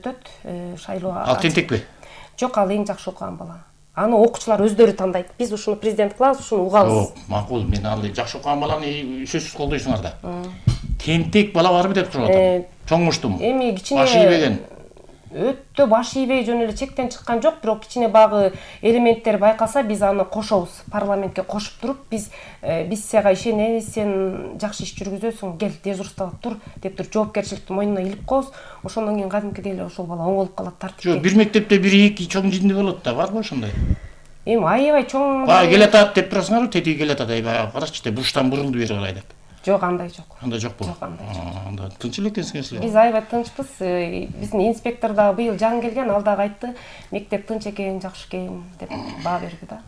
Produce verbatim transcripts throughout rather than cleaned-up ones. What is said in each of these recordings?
өтөт, шайлоо. Ал тентекпи? Жок, ал эң жакшы окуган бала. Аны окуучулар өздөрү тандайт. Биз ушуну президент кылабыз, ушуну угабыз. Жок, макул. Мен ал жакшы окуган баланы сөзсүз колдойсуңар да. Тентек бала барбы деп сурап атам. Чоңуштум. Эми кичине баш ийбеген. Өтө баш ийбей жөн эле чектен чыккан жок, бирок кичине багы элементтер байкаса, биз аны кошобуз. Парламентке кошуп туруп, биз биз сага ишенебиз, сен жакшы иш жүргүзөсүң, кел дежурствага тур деп туруп жоопкерчиликти мойнуна илип коебуз. Ошондон кийин кадимкидей эле ошол бала оңолуп калат, тартипке. Жок, бир мектепте бир эки чоң жинди болот да, барбы ошондой? Эми аябай чоң. Баа келатат деп турасыңарбы, тетиги келатат, аябай карачы, те бурчтан бурулду бери карай деп. Жок, андай жок. Андай жокпу? Жок, андай жок. Анда тынч эле экенсиңер силер. Биз аябай тынчпыз. Биздин инспектор да быйыл жаңы келген, ал дагы айтты, мектеп тынч экен, жакшы экен деп баа берди да.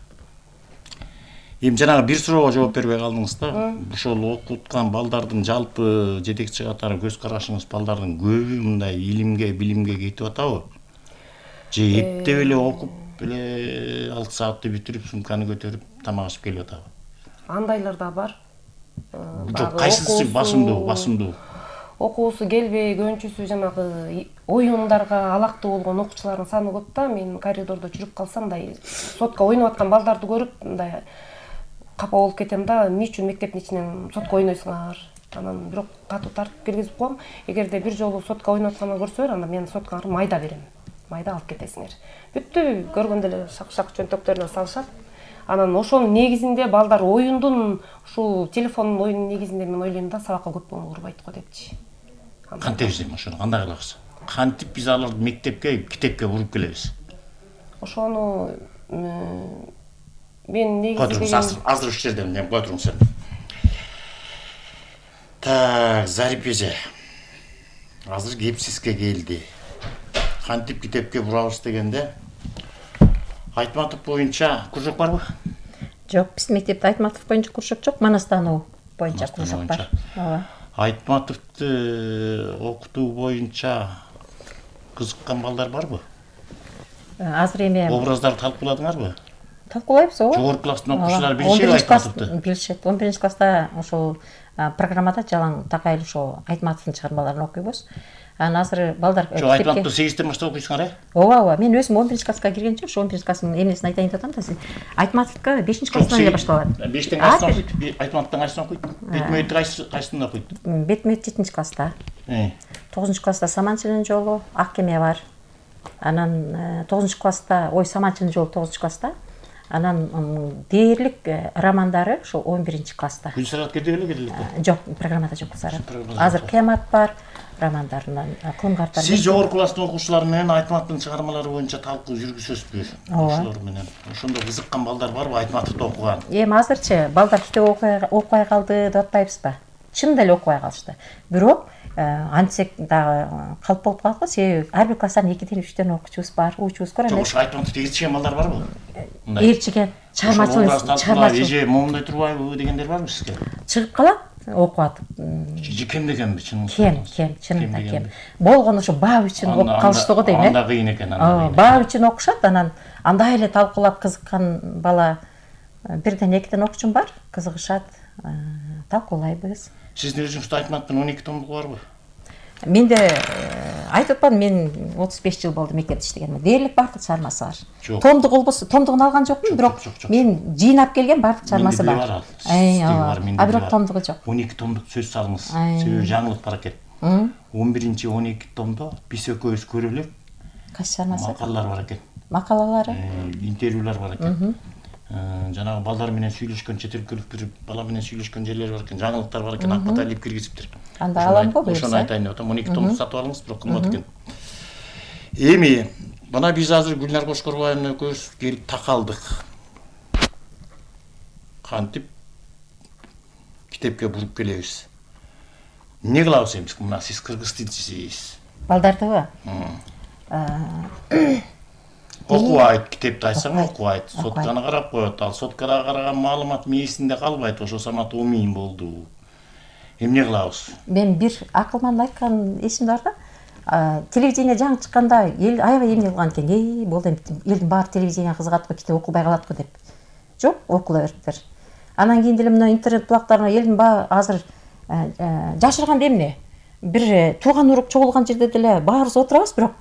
Эми жанагы бир суроого жооп бербей калдыңыз да. Ошол окуткан балдардын жалпы жетекчи катары көз карашыңыз балдардын көбү мындай илимге, билимге кетип атабы? Же эптеп эле окуп эле алты саатты бүтүрүп, сумканы көтөрүп тамак ичип келип атабы? Андайлар да бар. Жок, кайсысы басымдуу, басымдуу? Окуусу келбей, көбүнчөсү жанагы оюндарга алактуу болгон окуучулардын саны көп да. Мен коридордо жүрүп калсам, мындай сотко ойноп аткан балдарды көрүп, мындай капа болуп кетем да. Эмне үчүн мектептин ичинен сотко ойнойсуңар? Анан бирок катуу тартип киргизип коем. Эгерде бир жолу сотко ойноп атканын көрсөөр, анда мен соткага майда берем. Майда алып кетесиңер. Бүттү, көргөндө эле шак-шак чөнтөктөрүнө салышат. Анан ошонун негизинде балдар оюндун, ушул телефондун оюнунун негизинде мен ойлойм да, сабакка көп көңүл бурбайт го депчи. Кантебиз эми ошону кандай кылабыз? Кантип биз аларды мектепке, китепке буруп келебиз? Ошону мен негизи деген азыр ушул жерден мен кой туруңуз сен. Так, Зарип эже. Азыр кепсизге келди. Кантип китепке бурабыз дегенде Айтматов боюнча кружок барбы? Жок, биздин мектепте Айтматов боюнча кружок жок, Манастануу боюнча кружок бар. Ооба. Айтматовду окутуу боюнча кызыккан балдар барбы? Азыр эми образдарды талкууладыңарбы? Талкуулайбыз, ооба. Жогорку класстын окуучулары билишеби Айтматовду? Билишет. он биринчи класста ошол программада жалаң такай эле ошол Айтматовдун чыгармаларын окуйбуз. Анан азыр балдар Жок, Айтматовду сегизден баштап окуйсуңар, э? Ооба, ооба. Мен өзүм он биринчи класска киргенче, ошо он биринчи класстын эмнесин айтайын деп атам да. Айтматовго бешинчи класстан эле башталат. бештен кайсынан окуйт? Айтматовдун кайсысын окуйт? Бетмөйт кайсысын окуйт? Бетмөйт жетинчи класста. тогузунчу класста Саманчынын жолу, Ак кеме бар. Анан тогузунчу класста, ой, Саманчынын жолу тогузунчу класста. Анан дээрлик романдары ошо он биринчи класста. Гүлсарат Кедегеле келди. Жок, программада жок Гүлсарат. Азыр Кемат бар. Романдарынан кылым картар. Сиз жогорку класстын окуучулары менен Айтматовдун чыгармалары боюнча талкуу жүргүзөсүзбү? Ошолор менен. Ошондо кызыккан балдар барбы Айтматовду окуган? Эми азырчы балдар китеп окубай калды деп атпайбызбы? Чын эле окубай калышты. Бирок антсек дагы калп болуп калат го, себеби ар бир класстан экиден үчтөн окуучубуз бар, уучубуз бар эмес. Жок, Айтматовду ээрчиген балдар барбы? Ээрчиген, чыгармачылык, чыгармачылык. Эже момундай турбайбы дегендер барбы сизге? Чыгып калат. Окуп атып. Кем дегенби, чын? Кем, кем, чынында кем. Болгону ошо баа үчүн окуп калышты го дейм, э? Анда кыйын экен, анда. Баа үчүн окушат, анан андай эле талкуулап кызыккан бала бирден экиден окуучум бар, кызыгышат, талкуулайбыз. Сиздин өзүңүздө Айтматовдун он эки томдугу барбы? Менде айтып атпадым, мен отуз беш жыл болду мектепте иштегениме. Дээрлик бардык чыгармасы бар. Томдук болбосо, томдугун алган жокмун, бирок мен жыйнап келген бардык чыгармасы бар. А бирок томдугу жок. он эки томдук сөз салыңыз. Себеби жаңылык бар экен. он биринчи он эки томдо биз экөөбүз көрө элек кайсы чыгармасы? Макалалар бар экен. Макалалары? Интервьюлар бар экен. Жанагы балдар менен сүйлөшкөн, чет өлкөлүк бир бала менен сүйлөшкөн жерлер бар экен, жаңылыктар бар экен, акбата илип киргизиптир. Анда алам го буюрса. Ошону айтайын деп атам. он эки томду сатып алыңыз, бирок кымбат экен. Эми мына биз азыр Гүлнар Кошкорбаева экөөбүз келип такалдык. Кантип китепке буруп келебиз. Эмне кылабыз эми? Мына сиз кыргыз тилчисиз. Балдардыбы? Окубайт, китепти айтсаң окубайт. Сотканы карап коет. Ал соткада караган маалымат мээсинде калбайт. Ошо самат умин болду. Эмне кылабыз? Мен бир акылман айткан эсимде бар да. Телевидение жаңы чыкканда эл аябай эмне кылган экен. Эй, болду эми элдин баары телевидение кызыгат го, китеп окубай калат го деп. Жок, окула бериптир. Анан кийин деле мына интернет булактарына элдин баары азыр жашырган эмне? Бир тууган урук чогулган жерде деле баарыбыз отурабыз, бирок